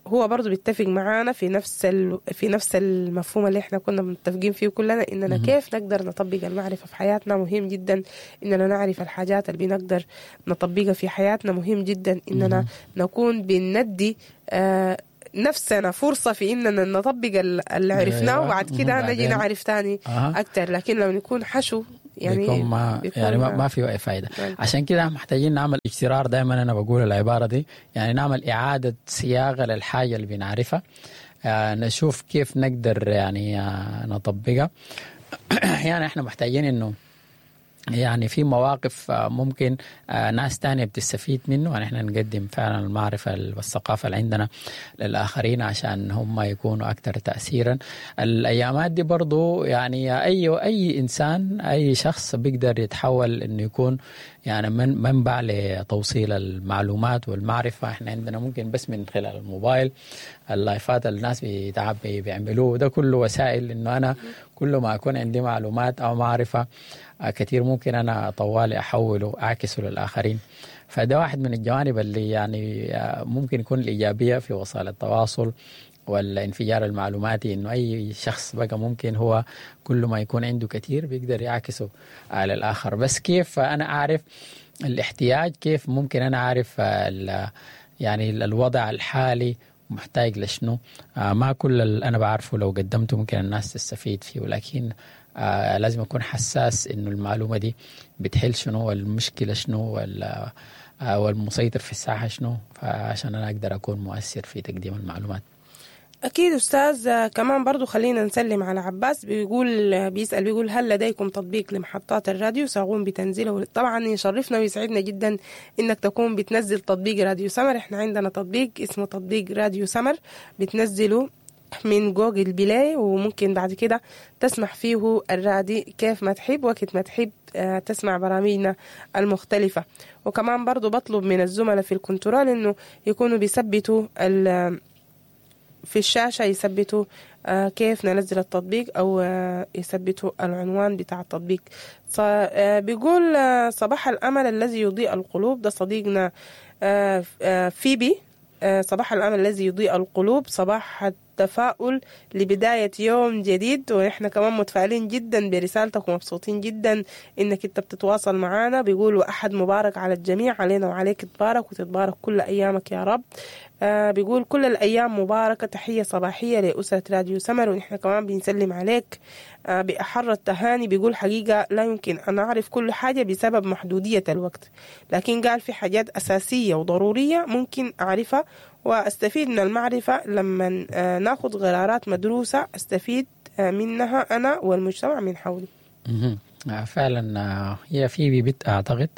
B: هو برضو بيتفق معانا في نفس ال... في نفس المفهوم اللي احنا كنا متفقين فيه كلنا، اننا كيف نقدر نطبق المعرفة في حياتنا. مهم جدا اننا نعرف الحاجات اللي بنقدر نطبقها في حياتنا، مهم جدا اننا نكون بندي آه نفسنا فرصة في إننا نطبق اللي عرفناه، وبعد كده نجي نعرف تاني
C: أه.
B: أكتر. لكن لو نكون حشو يعني
C: بيكون ما بيكون يعني ما, ما في أي فايدة. عشان كده محتاجين نعمل اجترار، دائما أنا بقول العبارة دي، يعني نعمل إعادة صياغة للحاجة اللي بنعرفها، آه نشوف كيف نقدر يعني آه نطبقها. يعني إحنا محتاجين إنه يعني في مواقف ممكن ناس تانية بتستفيد منه، يعني احنا نقدم فعلا المعرفة والثقافة اللي عندنا للآخرين عشان هم يكونوا أكثر تأثيرا. الأيامات دي برضو يعني أي أي إنسان أي شخص بيقدر يتحول إنه يكون يعني من منبع لتوصيل المعلومات والمعرفة. احنا عندنا ممكن بس من خلال الموبايل، اللايفات الناس بيتعب بيعملوه، ده كله وسائل إنه أنا كل ما أكون عندي معلومات أو معرفة كثير ممكن أنا طوالي أحوله أعكسه للآخرين. فده واحد من الجوانب اللي يعني ممكن يكون الإيجابية في وسائل التواصل والانفجار المعلوماتي، انه اي شخص بقى ممكن هو كل ما يكون عنده كثير بيقدر يعكسه على الاخر. بس كيف انا اعرف الاحتياج؟ كيف ممكن انا اعرف يعني الوضع الحالي محتاج لشنو؟ آه ما كل اللي انا بعرفه لو قدمته ممكن الناس تستفيد فيه، ولكن آه لازم اكون حساس انه المعلومة دي بتحل شنو، والمشكلة شنو، والمسيطر في الساحة شنو، فعشان انا اقدر اكون مؤثر في تقديم المعلومات.
B: أكيد أستاذ. كمان برضو خلينا نسلم على عباس، بيقول بيسأل بيقول هل لديكم تطبيق لمحطات الراديو؟ سأقوم بتنزيله. طبعا يشرفنا ويسعدنا جدا إنك تكون بتنزل تطبيق راديو سمر. إحنا عندنا تطبيق اسمه تطبيق راديو سمر، بتنزله من جوجل بلاي، وممكن بعد كده تسمع فيه الرادي كيف ما تحب وقت ما تحب تسمع برامجنا المختلفة. وكمان برضو بطلب من الزملاء في الكنترول إنه يكونوا بيثبتوا ال في الشاشة، يثبتوا كيف ننزل التطبيق أو يثبتوا العنوان بتاع التطبيق. بيقول صباح الأمل الذي يضيء القلوب، ده صديقنا فيبي. صباح الأمل الذي يضيء القلوب، صباح التفاؤل لبداية يوم جديد. ونحن كمان متفائلين جدا برسالتك ومبسوطين جدا إنك أنت بتتواصل معنا. بيقول وأحد مبارك على الجميع، علينا وعليك تبارك وتتبارك كل أيامك يا رب. آه بيقول كل الأيام مباركة، تحية صباحية لأسرة راديو سمر، ونحن كمان بنسلم عليك آه بأحر التهاني. بيقول حقيقة لا يمكن أن أعرف كل حاجة بسبب محدودية الوقت، لكن قال في حاجات أساسية وضرورية ممكن أعرفها وأستفيد من المعرفة لما آه ناخد قرارات مدروسة أستفيد آه منها أنا والمجتمع من حولي.
C: فعلا هي في بيت أعتقد.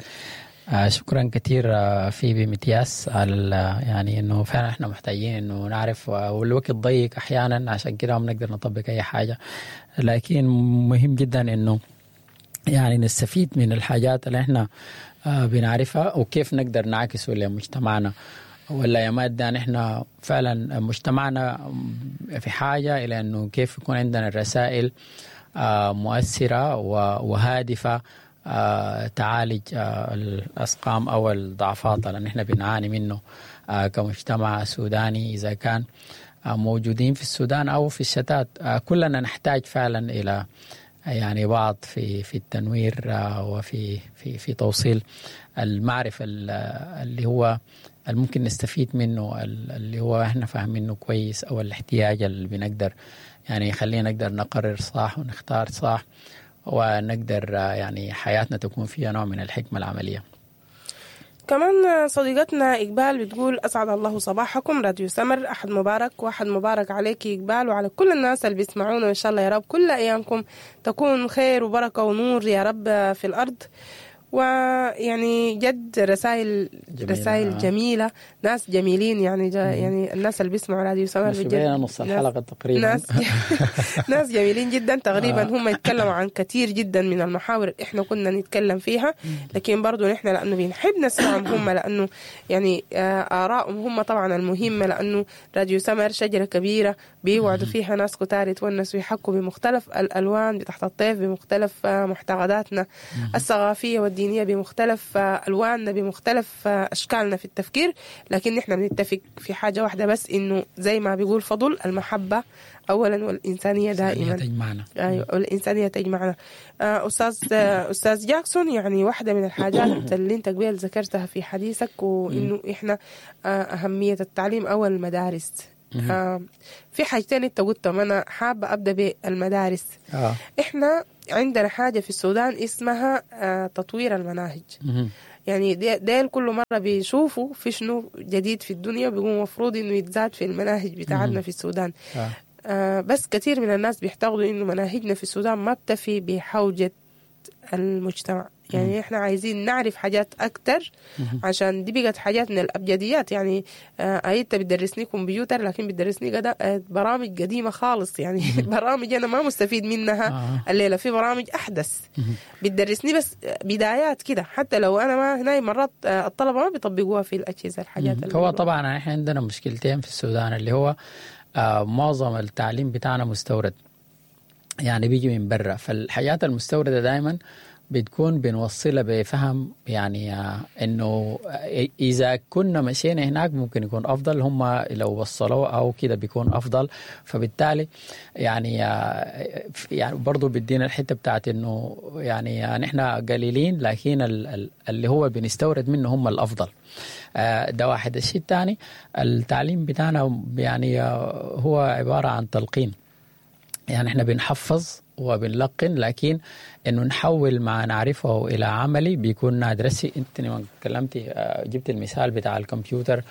C: آه شكرا كثير آه فيبي متياس على يعني انه فعلا احنا محتاجين انه نعرف، والوقت ضيق احيانا عشان كده ما بنقدر نطبق اي حاجة، لكن مهم جدا انه يعني نستفيد من الحاجات اللي احنا آه بنعرفها وكيف نقدر نعكسه لمجتمعنا. ولا يا مادة نحن فعلا مجتمعنا في حاجة الى انه كيف يكون عندنا الرسائل آه مؤثرة وهادفه آه، تعالج آه، الأسقام أو الضعفات اللي نحن بنعاني منه آه، كمجتمع سوداني، إذا كان آه، موجودين في السودان أو في الشتات. آه، كلنا نحتاج فعلا إلى يعني بعض في في التنوير آه، وفي في في توصيل المعرفة اللي هو الممكن نستفيد منه، اللي هو احنا فاهمينه كويس، أو الاحتياج اللي بنقدر يعني خلينا نقدر نقرر صح ونختار صح، ونقدر يعني حياتنا تكون فيها نوع من الحكمة العملية.
B: كمان صديقتنا إقبال بتقول أسعد الله صباحكم راديو سمر، أحد مبارك وأحد مبارك عليك إقبال وعلى كل الناس اللي بيسمعونا، وإن شاء الله يا رب كل أيامكم تكون خير وبركة ونور يا رب في الأرض. ويعني جد رسائل جميلة. رسائل جميلة، ناس جميلين يعني جا يعني الناس اللي بيسمعوا راديو سمر
C: بجد نص الحلقة تقريبا
B: ناس ناس جميلين جدا تقريبا. هم يتكلموا عن كثير جدا من المحاور احنا كنا نتكلم فيها، لكن برضو نحن لأنه بنحب نسمعهم هم، لأنه يعني آرائهم هم طبعا المهمة، لأنه راديو سمر شجرة كبيرة بيوعدوا فيها ناس كتار يتونسوا ويحكوا بمختلف الألوان تحت الطيف، بمختلف معتقداتنا الثقافية والدينية، بمختلف ألواننا، بمختلف أشكالنا في التفكير، لكن نحن بنتفق في حاجة واحدة بس، إنه زي ما بيقول فضل، المحبة أولا والإنسانية دائما
C: تجمعنا.
B: أيوة، والإنسانية تجمعنا. أستاذ أستاذ جاكسون، يعني واحدة من الحاجات اللي أنت قبل ذكرتها في حديثك، وإنه إحنا أهمية التعليم أو المدارس. آه في حاجتين انت قلتهم، انا حابة ابدا بالمدارس. آه. احنا عندنا حاجة في السودان اسمها آه تطوير المناهج. مم. يعني ديل كل مرة بيشوفوا في شنو جديد في الدنيا، بيقوموا مفروض انه يتزاد في المناهج بتاعتنا في السودان. آه. آه بس كثير من الناس بيعتقدوا انه مناهجنا في السودان ما بتفي بحوجه المجتمع. يعني مم. احنا عايزين نعرف حاجات اكتر، عشان دي بقت حاجات من الابجديات. يعني آه انت بتدرسني كمبيوتر، لكن بتدرسني قد برامج قديمة خالص يعني برامج انا ما مستفيد منها آه. الليلة في برامج احدث بتدرسني بس بدايات كده، حتى لو انا ما هنا مرات الطلبة ما بيطبقوها في الاجهزة الحاجات.
C: هو طبعا احنا عندنا مشكلتين في السودان، اللي هو آه معظم التعليم بتاعنا مستورد، يعني بيجي من برا، فالحاجات المستورده دائما بتكون بنوصلها بفهم يعني آه، انه اذا كنا مشينا هناك ممكن يكون افضل، هم لو وصلوه او كده بيكون افضل. فبالتالي يعني آه، يعني برضه بيدينا الحتة بتاعت انه يعني نحن قليلين، لكن اللي هو بنستورد منه هم الافضل. آه، ده واحد. الشيء الثاني التعليم بتاعنا يعني هو عبارة عن تلقين، يعني احنا بنحفظ وبنلقن، لكن انه نحول ما نعرفه الى عملي بيكون نادر. انت لما تكلمتي جبت المثال بتاع الكمبيوتر،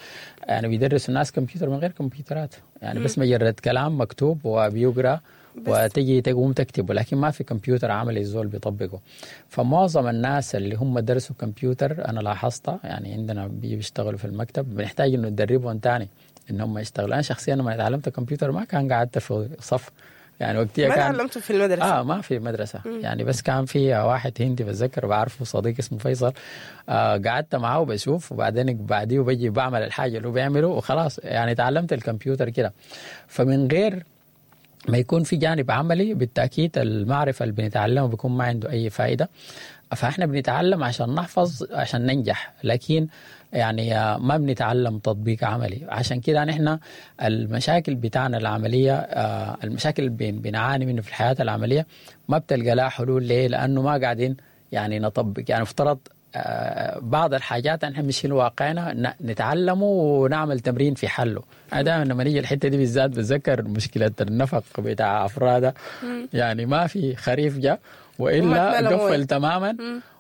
C: يعني بيدرسوا الناس كمبيوتر من غير كمبيوترات، يعني بس مجرد كلام مكتوب وبيقرا وتجي تقوم تكتبه، لكن ما في كمبيوتر عملي الزول بيطبقه. فمعظم الناس اللي هم درسوا كمبيوتر انا لاحظتها، يعني عندنا بيشتغلوا في المكتب بنحتاج انه ندربهم تاني ان هم يشتغلوا. انا شخصيا لما تعلمت كمبيوتر ما كان قعدت في صف، يعني وقتها
B: ما
C: كان
B: تعلمته في المدرسة.
C: اه ما في مدرسة. مم. يعني بس كان في واحد هندي بتذكر بعرفه، صديق اسمه فيصل، آه قعدت معاه وبشوف، وبعدين بعديه بجي بعمل الحاجة اللي هو بيعمله وخلاص، يعني تعلمت الكمبيوتر كده. فمن غير ما يكون في جانب عملي بالتأكيد المعرفة اللي بنتعلمه بيكون ما عنده أي فائدة. فإحنا بنتعلم عشان نحفظ عشان ننجح، لكن يعني ما بنتعلم تطبيق عملي. عشان كده نحن المشاكل بتاعنا العملية، المشاكل اللي بنعاني منه في الحياة العملية ما بتلقى لها حلول. ليه؟ لأنه ما قاعدين يعني نطبق. يعني افترض بعض الحاجات نحن مش في واقعنا نتعلمه ونعمل تمرين في حله. انا دائما لما نيجي الحتة دي بالذات بتذكر مشكلة النفق بتاع افراده، يعني ما في خريف جاء والا قفل تماما،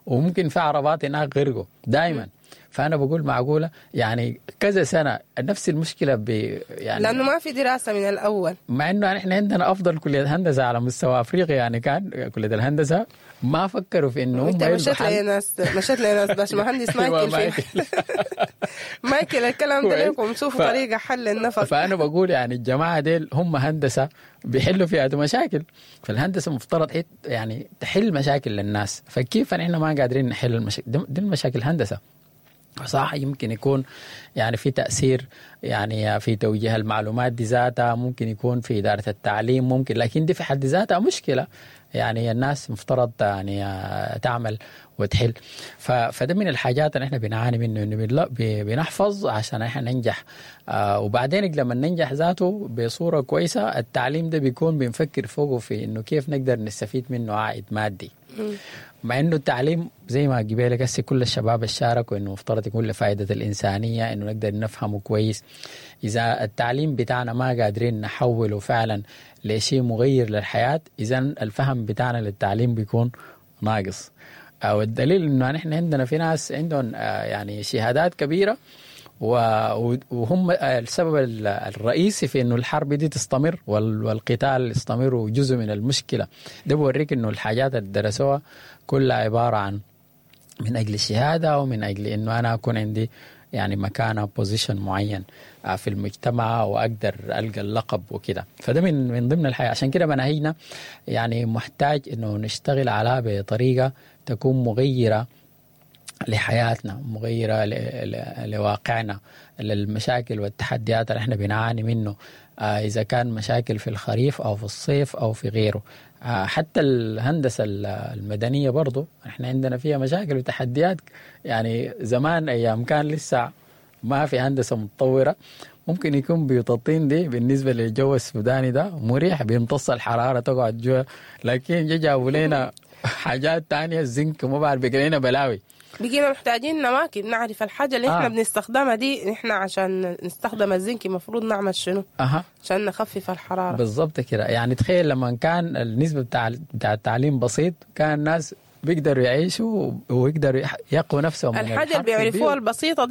C: وممكن في عربات هناك غرقوا دائما. فانا بقول معقولة يعني كذا سنة نفس المشكلة ب يعني
B: لانه ما في دراسة من الاول،
C: مع انه احنا عندنا افضل كليه هندسة على مستوى افريقيا، يعني كان كليه الهندسة ما فكروا في انه
B: انت مشيت لناس مشيت لناس باشمهندس مايكل في مايكل الكلام ده لكم، شوفوا ف... طريقه حل النفق.
C: فانا بقول يعني الجماعة ديل هم هندسة بيحلوا فيها مشاكل، فالهندسه مفترض يعني تحل مشاكل للناس، فكيف نحن ما قادرين نحل المشاكل دي؟ المشاكل هندسة صح، يمكن يكون يعني في تأثير يعني في توجيه المعلومات دي ذاتها، ممكن يكون في إدارة التعليم، ممكن، لكن دي في حد ذاتها مشكلة يعني الناس مفترض يعني تعمل وتحل. فده من الحاجات اللي احنا بنعاني منه، انه بنحفظ عشان احنا ننجح، آه وبعدين لما ننجح ذاته بصورة كويسة التعليم ده بيكون بنفكر فوقه في انه كيف نقدر نستفيد منه عائد مادي. مع انه التعليم زي ما قبلك هسه كل الشباب شاركوا انه مفترض يكون لفائدة الانسانية، انه نقدر نفهمه كويس. اذا التعليم بتاعنا ما قادرين نحوله فعلا لشيء مغير للحياة، اذا الفهم بتاعنا للتعليم بيكون ناقص. او الدليل انه نحن عندنا في ناس عندهم يعني شهادات كبيرة وهم السبب الرئيسي في انه الحرب دي تستمر والقتال يستمر وجزء من المشكلة. ده بوريك انه الحاجات اللي درسوها كلها عبارة عن من اجل الشهادة ومن اجل انه انا اكون عندي يعني مكانه position معين في المجتمع واقدر القى اللقب وكده. فده من من ضمن الحياة. عشان كده مناهجنا يعني محتاج انه نشتغل عليها بطريقة تكون مغيرة لحياتنا، مغيرة لواقعنا، للمشاكل والتحديات اللي احنا بنعاني منه، إذا كان مشاكل في الخريف أو في الصيف أو في غيره. حتى الهندسة المدنية برضو احنا عندنا فيها مشاكل وتحديات. يعني زمان أيام كان لسه ما في هندسة متطورة، ممكن يكون بيوت الطين دي بالنسبة للجو السوداني ده مريح، بيمتص الحرارة تقعد جوا، لكن جابوا لنا حاجات تانية الزنك وما بعرف بقى لنا بلاوي.
B: بقينا محتاجين نواكب نعرف الحاجة اللي احنا آه. بنستخدمها دي، احنا عشان نستخدم الزنك المفروض نعمل شنو
C: أه.
B: عشان نخفف الحرارة
C: بالضبط كده. يعني تخيل لما كان النسبة بتاع بتاع التعليم بسيط، كان الناس بيقدروا يعيشوا ويقدروا يقوا نفسهم
B: الحاجة اللي بيعرفوها البسيطة دي.